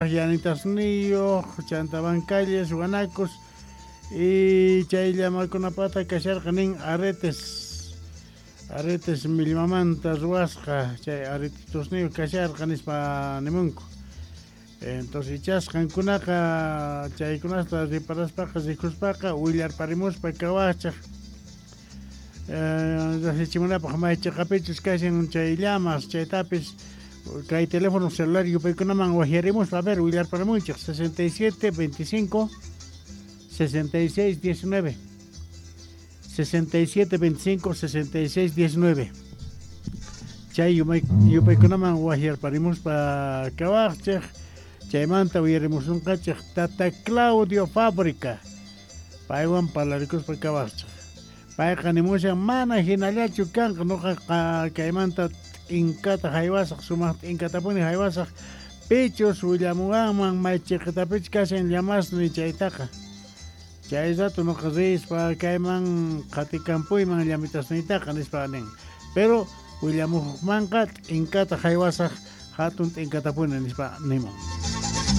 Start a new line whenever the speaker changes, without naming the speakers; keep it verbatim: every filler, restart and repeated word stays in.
Llanitasniyuq, chanta bancalles, guanacos y chay llamakunapata kasharqa nin aretes, aretes millmamanta ruwasqa, chay aretetusniyuq kasharqa nispa nimunku. Entonces ichas qankunaqa chaykunasta riparaspaqa rikuspaqa willarparimuspa kawachaq rasichimunapaq may chiqapichus kashan chay llamas chaytapis kay teléfono celular yupaykunaman wajyarimuspa a ver willarparimunchik sesenta y siete veinticinco sesenta y seis diecinueve sesenta y siete veinticinco sesenta y seis diecinueve chay yupaykunaman wajyarparimuspa kawaqchik chaymanta uyarimusunqachik Tata Claudio Fábrica paywan parlarikuspa kawaqchik payqa nimushan mana hinallachu kanqa nuqaqa kaymanta t'inkata haywasaq sumaq t'inkatapuni haywasaq pichus willamuwanman may chiqitapich kashan llamasni chaytaqa chay rato nuqa rispa kayman qhatikampuyman llamitasniytaqa nispa nin pero willamuqmanqa t'inkata haywasaq hatun t'inkatapuni nispa nimun.